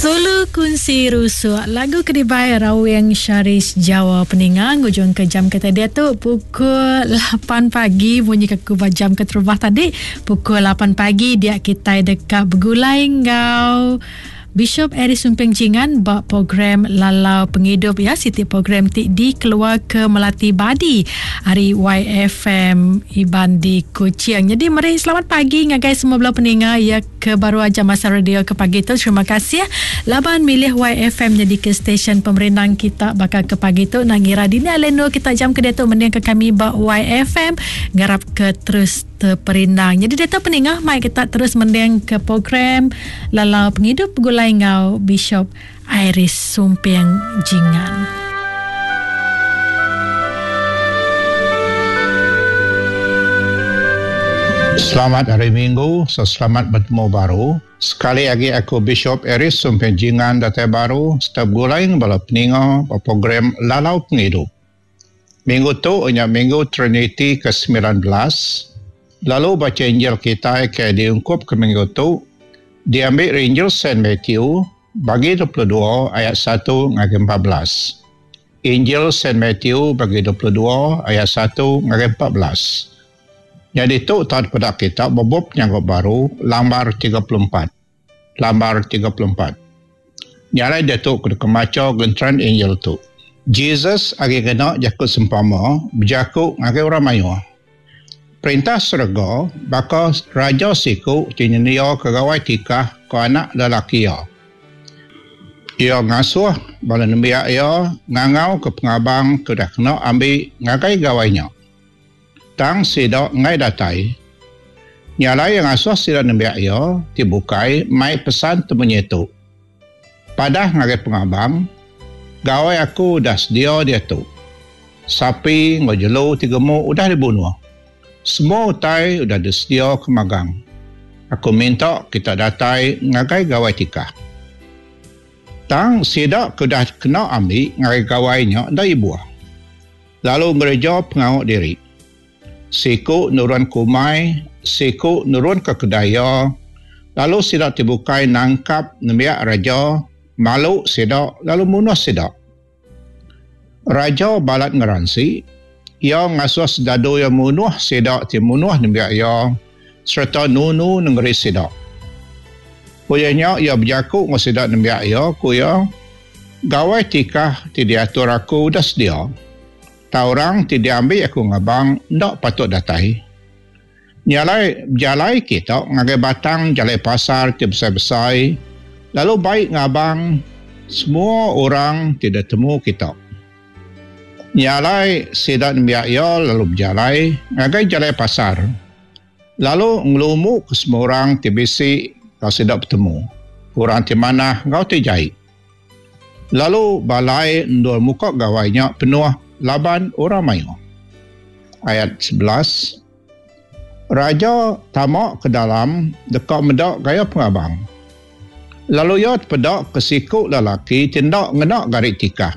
Sulu Kunsi Rusuk lagu ke dibai Rawing Syaris Jawa peninga ngujung ke jam kita diatu pukul 8 pagi munyi ke ku ba jam keterubah tadi pukul 8 pagi dia kitai deka begulai enggau Bishop Eric Sumping Jingan ba program Lalau Pengidup ya siti program ti dikeluarka Melati Badi ari YFM Iban di Kuching. Jadi meri selamat pagi ngagai semua bala peninga ya ke baru aja masa radio ke pagi tu. Terima kasih laban milih YFM nyadi ke stesen pemerindang kita baka ke pagi tu. Nang ngira dini alai endur kita jam ke diatu mending ke kami ba YFM. Ngarap ke terus teperindang. Jadi diatu peningah mai kita terus mending ke program Lalau Pengidup Begulai enggau Bishop Iris Sumping Jingan. Selamat Hari Minggu, selamat betemu baru. Sekali agi aku Bishop Iris Sumping Jingan datai baru sereta begulai enggau bala peninga ba program Lalau Pengidup. Minggu tu nya Minggu Triniti ke 19, lalu bacha Injil kitai ke diungkupka minggu tu diambi ari Injil Saint Matthew bagi 22 ayat satu ngagai 14. Injil Saint Matthew bagi 22 ayat satu ngagai 14. Nyadi tu tau dipeda kita ba bup Penyanggup Baru lambar 34. Lambar 34. Nya alai diatu ku deka macha genteran Injil tu. Jesus agi ngena jaku sempama bejaku ngagai orang mayuh. Perintah serega baka raja siku ti nyendiaka gawai tikah ke anak lelaki iya. Iya ngasuh bala nembiak iya ngangauka pengabang ke udah kena ambi ngagai gawai nya. Tang sida enggai datai. Nya alai iya ngasuh sida nembiak iya ti bukai mai pesan temunyi tu, Padah ngagai pengabang, Gawai aku udah sedia diatu. Sapi enggau jelu ti gemuk udah dibunuh. Semua utai udah disediaka magang. Aku minta kita datai ngagai gawai tikah. Tang sida ke udah kena ambi ngagai gawai nya enda ibuh. Lalu ngereja pengawa diri. Siku nurun ke umai, siku nurun ke kedai iya, lalu sida ti bukai nangkap nembiak raja, malu sida lalu munuh sida. Raja balat ngeransi, iya ngasuh sedadu iya munuh sida ti munuh nembiak iya sereta nunu nengeri sida. Udah nya iya bejaku enggau sida nembiak iya, ku iya, Gawai tikah ti diatur aku udah sedia. Tang orang ti diambi aku ngabang enda patut datai. Nya alai bejalai kita ngagai batang jalai pasar ti besai-besai lalu bai ngabang semua orang ti ditemu kita. Nya alai sida nembiak iya lalu bejalai ngagai jalai pasar lalu ngelumuka semua orang ti bisi enggau sida betemu, orang ti manah enggau ti jai. Lalu balai endur muka gawai nya penuh laban orang mayuh. Ayat 11, Raja tama ke dalam deka meda gaya pengabang. Lalu iya tepeda ke siku lelaki ti enda ngena gari tikah.